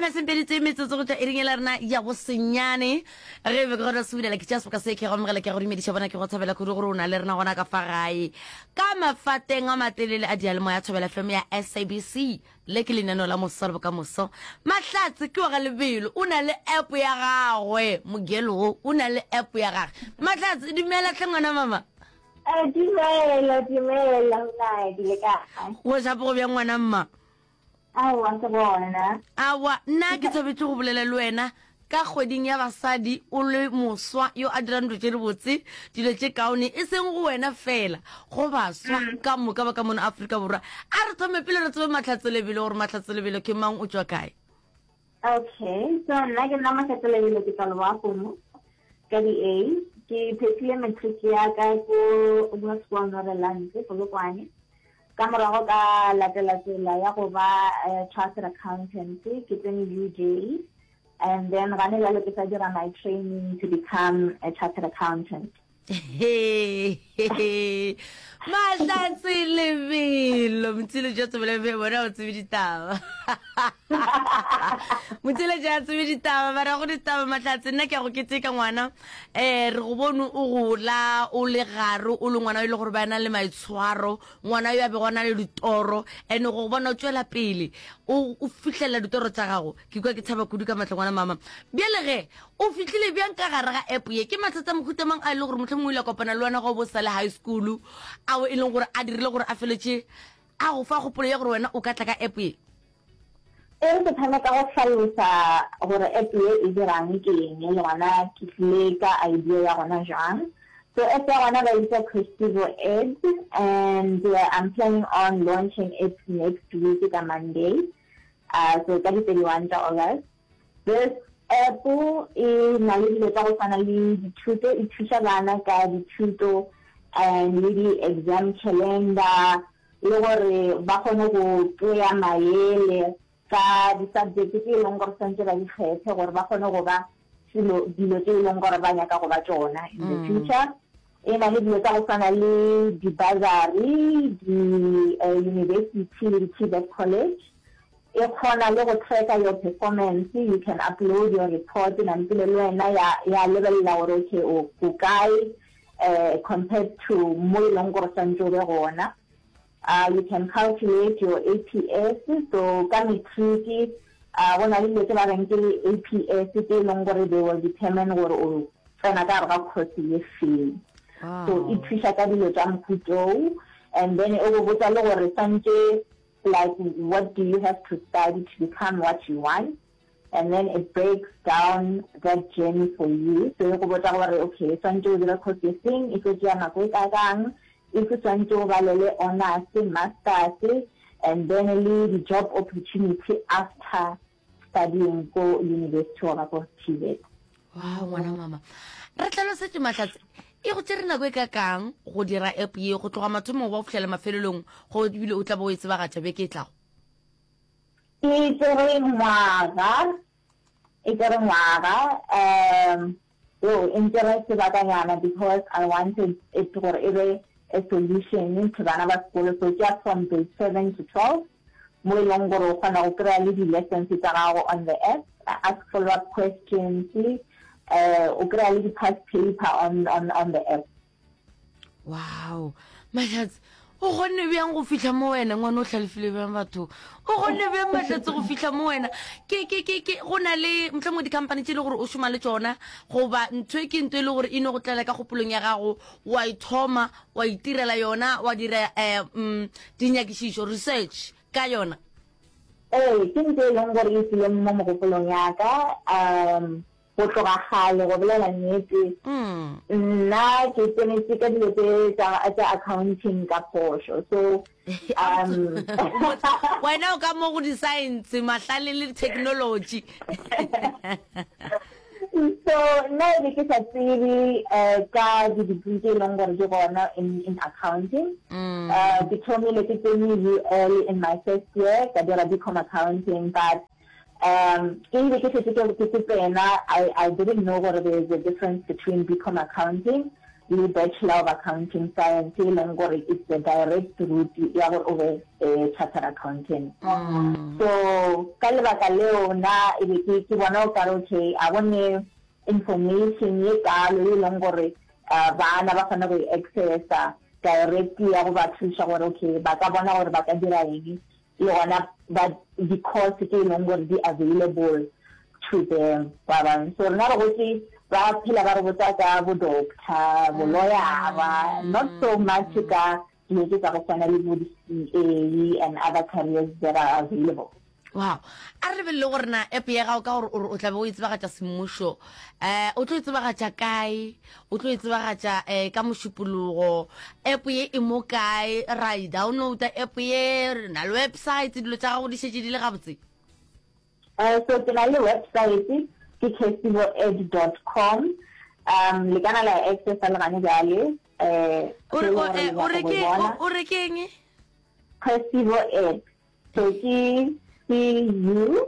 Masempedi tse metsotso go tšwa iring e la rena ya bosenyane. Ge be ke gona se bulela ke tšea seboka se ke go amogela ke go dumediša bona ke go thabela kudu gore o na le rena gona ka fa gae. Ka mafateng a matelele a diyalemoya Thobela FM ya SABC. Le ke lenaneo la Moso le Bokamoso. Mahlatse ke wa ga Lebelo, o na le app ya gagwe. Mogelo wo o na le app ya gage. Mahlatse, dumela hle ngwana mama. Eh, dumela, dumela, Hunadi, le kae? Go shapo go bjang ngwana mma? Aowa, ke gona. Aowa, nna ke thabetše go bolela le wena ka kgweding ya basadi o le moswa yo a dirang dilo tše dibotse, dilo tše kaone, e seng go wena fela, go baswa mm. ka moka ba ka mono Afrika Borwa. A re thome pele re tsebe Mahlatse Lebelo gore Mahlatse Lebelo ke mang, o tšwa kae? Okay, so nna ke nna Mahlatse Lebelo, ke tšwa Leboagomo ka di-A. Ke phethile matric ya ka ko Hoërskool Norelante, Polokwane. Ka morago ka latela tsela ya go ba chartered accountant, ke tsene UJ and then gane bjalo ke sa dira my training to become a chartered accountant. Mahlatse lebelo motsile ja tsebele be bona o tsebe ditaba motsile ja tsebe ditaba ba ra go ditaba mahlatse nna ke ya go keteka ngwana um re go bone o gola o le gare o le ngwana o e le gore ba na le maitshwaro ngwana yo a bego a na le ditoro and go bona o tšwela pele o fihlelela ditoro tša gago ke kwa ke thaba kudu ka matla ngwana mama bjale ge o fihlile bjang ka gare ga app ye ke mathata mohuta mang a e le gore mohlomongwe o ile a kopana le wena ga o bo sa le high school ao e leng gore a dirile gore a feletše a go fa kgopolo ya gore wena o ka tla ka app ye E re ke thome ka go hlalosa gore app ye e dirang ke eng le gona ke tlile ka idea ya gona jwang. So app ya gona ba e bitsa Questivo Ed and I'm planning on launching it next week ka Monday, so ka di 31 tša August. This app e na le dilo tša go swana le dithuto, e thuša bana ka dithuto and le di-exam calendar, le gore ba kgone go kry-a maele ka di-subject tse e leng gore santse ba di kgethe gore ba kgone go ba selo dilo tse e leng gore ba nyaka go ba tšona in the future. E na le dilo tsa go swana le di-bursary, di-university le di-TVET college. E kgona le go tracker your performance, you can upload your report nampile le wena ya ya lebelela gore okay o o kae compared to mo e leng gore swantse o be gona. You can calculate your APS, so ka matric go na le dilo tse ba reng ke APS tse e leng gore they will determine gore o tsena ka gare ga course ye feng. So e thuša ka dilo tša mohuta and then e go botsa le gore swantse like what do you have to study to become what you want and then it breaks down that journey for you so e go botsa gore okay swantse o dire course e feng e tlo tšea nako e kakang if swantse o balele honors masters and then le di-job opportunity after studying ko university goba ko TVET. Wow, ngwana mama. Re tlhalosetše Mahlatse, e go tšere nako e ka kang go dira app ye go tloga mathomong go fihlela mafelelong go ebile o tla bo o e tsebagatša beke e tlago? E tšere ngwaga, e tšere ngwaga, um yo e ntšere sebakanyana because I wanted it gore e be a solution to bana ba sekolo, so ke ya from grade 7 to 12 mo e leng gore o kgona go kry-a le di-lessons tša gago on the app, ask follow up questions, o kry-a le di-past paper on, on, on the app. Wow, Mahlatse, o kgonne bjang go fihla mo wena ngwana o hlalefile bjang batho o kgonne bjang Mahlatse go fihla mo wena ke ke ke ke go na le mohlomongwe di-company tše e le gore o šoma le tšona goba ntho e ke ntho e le gore e no go tlela ka kgopolong ya gago wa e thoma wa itirela yona wa dira um dinyakišišo research ka yona Ee, ke ntho e leng gore e tlile mo mogopolong ya ka um Go tloga kgale, go bolela nnete, nna ke tsenetše ka dilo tše tša tša accounting ka phošo. So, um Wena o ka mo go di-science, mahlale le technology. So, nna e be ke sa tsebe eh, ka di-degree tše e leng gore di gona in, in accounting. Uh, ke thomile ke tsene UL in my first year, ka dira BCom accounting, but Um, ke ile ke šetše ke ke tsena, I, I didn't know gore there is a difference between BCom accounting. le Bachelor of Accounting Science e leng gore it's the direct route ya gore o be chartered accountant. So ka lebaka leo nna e be ke ke bona o kare okay a go ne information ye kalo e leng gore bana ba kgone go e accessa direct ya go ba thuša gore okay ba ka bona gore ba ka dira eng le gona ba di-course tše e leng gore di available to them ba bang. So rena re gotse ba phela ba re botsa ka bo doctor, bo lawyer-ra, not so much ka dilo tše tsa go swana le bo di-C_A and other careers that are available. Wow. A re lebelele gore na app ya gago ka gore o re o tla be o e tsebagatša semmušo, um o tlo e tsebagatša kae, o tlo e tsebagatša um ka Mošupologo, app ye e mo kae, ra e downloada app ye, re na le website, dilo tša gago di šetše di le gabotse? Uh, so ke na le website ke kesiboed dot com um le kana la e accessa le gane bjale um O re o eh, o re ke o re ke eng? Kesibo Ed So ke C U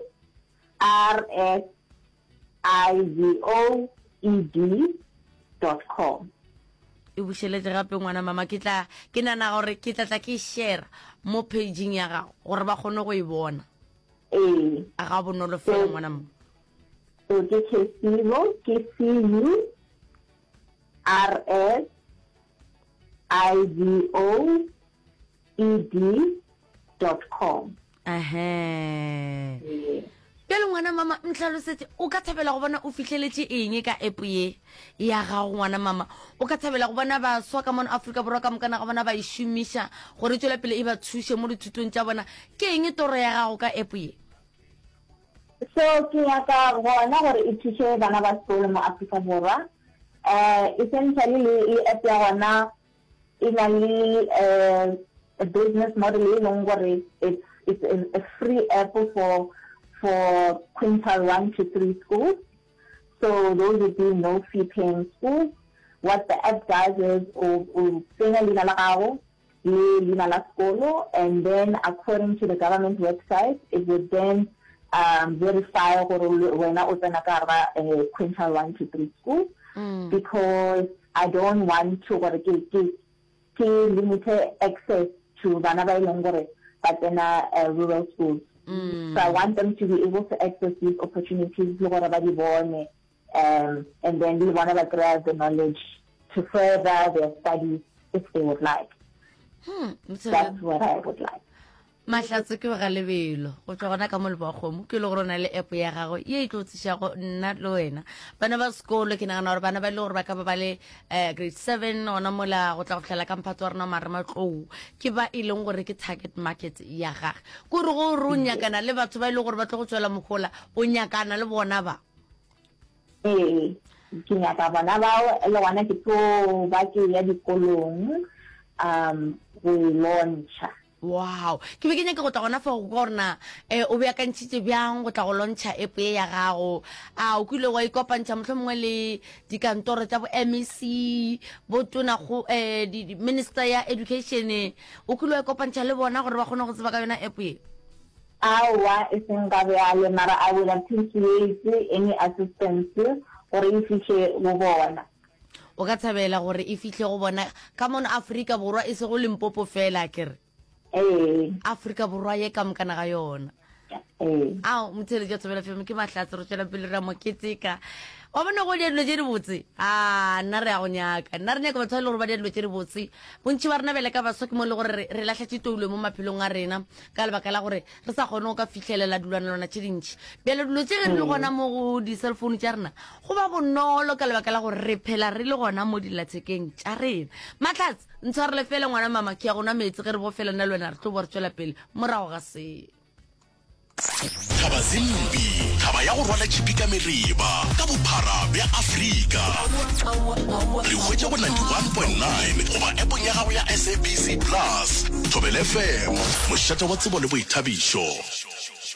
R S I V O E D dot com. E bušeletše gape ngwana mama, ke tla ke nana gore ke tla tla ke share mo pageng ya gago gore ba kgone go e bona. Ee. A ga bonolo fela ngwana mama. So ke Kesivo, ke C U R S I V O E D dot com. Ahee. Bjale ngwana mama ntlhalosetše o ka thabela go bona o fihleletše eng ka app ye ya gago ngwana mama? O ka thabela go bona baswa ka mono Afrika Borwa ka mokana ga bona ba e šomiša gore e tšwele pele e ba thuše mo dithutong tša bona. Ke eng toro ya gago ka app ye? So ke nyaka gona gore e thuše bana ba sekolo mo Afrika Borwa. Um essentially le le app ya gona E na le a business model e leng gore it's it's a, a free app for for quintile 1 to 3 schools. So those would be no fee paying schools. What the app does is o o tsenya leina la gago le leina la sekolo and then according to the government website it would then um, verify gore wena o tsena ka gare ga eh, quintile 1 to 3 schools mm. because I don't want to gore ke ke ke limite access to bana ba e leng gore ba tsena rural schools. So I want them to be able to access these opportunities le gore ba di bone um and then le bona ba kry-a the knowledge to further their studies if they would like. Hmm, That's what I would like. Mahlatse ke ga lebelo go tšwa gona ka mo Lebowakgomo, ke le gore o na le app ya gagwe ye e tlo tlišago nna le wena bana ba sekolo. Ke nagana gore bana ba e le gore ba ka ba ba le um grade 7 gona mola go tla go fihlela ka mphato wa rena wa marematlou, ke ba e leng gore ke target market ya gage. Kore go re o nyakana le batho ba e leng gore ba tlo go tswela mohola, o nyakana le bona ba. Ee, ke nyaka bona bao, le gona ke tlo ba ke ya dikolong um go e launcha. Wow. Ke be ke nyaka go tla gona fa go kwa gore na eh, o beakantšhitše bjang go tla go launcha app ye ya gago. A o kile wa ikopantšha mohlomongwe le dikantoro tša bo MEC, bo tona go eh, di, di, minister ya education, o kile wa ikopantšha le bona gore ba kgone go tseba ka yona app ye? Aowa, e seng ga bjale, mara I would appreciate any assistance gore e fihle go bona. O ka thabela gore e fihle go bona ka mono Afrika Borwa, e sego Limpopo fela, akere? Ee. Afrika Borwa ye ka mokana ga yona. Ee. Ao, motheeletši wa Thobela FM, ke Mahlatse, re tšwela pele re a mo keteka. Wa bona go dia dilo tše dibotse? A, nna re a go nyaka. Nna re nyaka batho ba e le gore ba dia dilo tše dibotse. Bontši ba rena bjale ka baswa ke mo e le gore re, re lahletše toulo mo maphelong a rena ka lebaka la gore re sa kgone go ka fihlelela dilwanalwana tše dintši. Bjale dilo tše ge di le gona mo go di-cellphone tša rena, go ba bonolo ka lebaka la gore re phela re le gona mo dillathekeng tša rena. Mahlatse, ntshwarele fela ngwana mama, ke ya go nwa meetse ge re bo fela nna le wena re tlo bo re tšwela pele morago ga se. Thaba Zimbi, thaba ya go rwala tšhipi ka mereba ka bophara bja Afrika. Re hwetša go 91.9 goba appong ya gago ya SABC Plus. Thobela FM, mošate wa tsebo le boithabišo.